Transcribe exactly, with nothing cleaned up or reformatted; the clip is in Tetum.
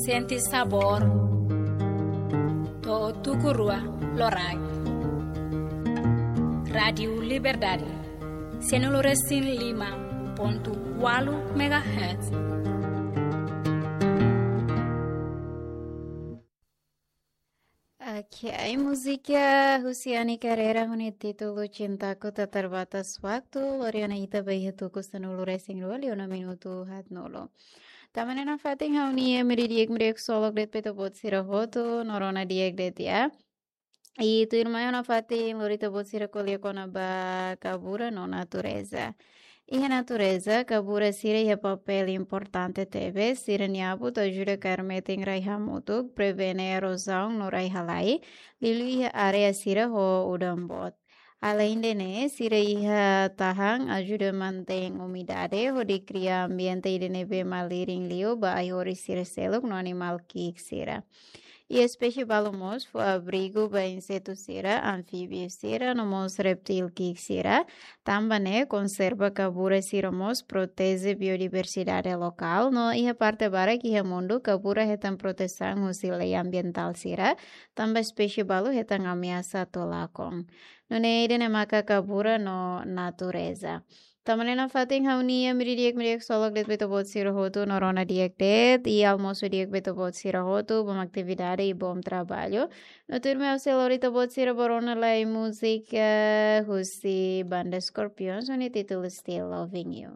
Sente sabór. To'o tuku rua loraik. Rádiu Liberdade. Sanulu-resin-lima pontu ualu megahertz. Ok, múzika husi Ani Carreira ho nia títulu Cintaku Tak Terbatas Waktu, lori ona ita ba iha tuku sanulu-resin-rua liu ona minutu haatnulu. Tanba ne'e nafatin ha'u-nia imi di'ak, imi di'ak ksolok de'it ba ita-boot sira hotu, no rona di'ak de'it ya. I tuirmai ona fatin lori ita-boot sira ko'alia kona-ba kabura no natureza. Iha natureza, kabura sira iha papél importante tebes, sira-nia abut ajuda kaer metin rai hamutuk, prevene erozaun no rai-halai, liuliu iha área sira ho udan boot. Aleinde ne'e, sira iha tahan ajuda mantein umidade, hodi kria ambiente ida ne'ebé malirin liu ba ai-horis sira seluk no animál ki'ik sira. I espésie balu mós fó abrigu ba insetu sira, anfíbiu sira, no mós reptíl ki'ik sira. Tanba ne'e, konserva kabura sira mós proteje biodiversidade lokál, no iha parte barak iha mundu kabura hetan protesaun husi lei ambientál sira, tanba espésie balu hetan ameasa atu lakon. Nune'e ida-ne'e maka kabura no natureza. Tanba ne'e nafatin ha'u-nia imi di'ak, imi di'ak ksolok de'it ba ita-boot sira hotu, no rona di'ak de'it, i almosu di'ak ba ita-boot sira hotu, bom atividade i bom traballu. No tuirmai ha'u sei lori ita-boot sira ba rona lai múzika husi Banda Scorpions, ho nia títulu Still Loving You.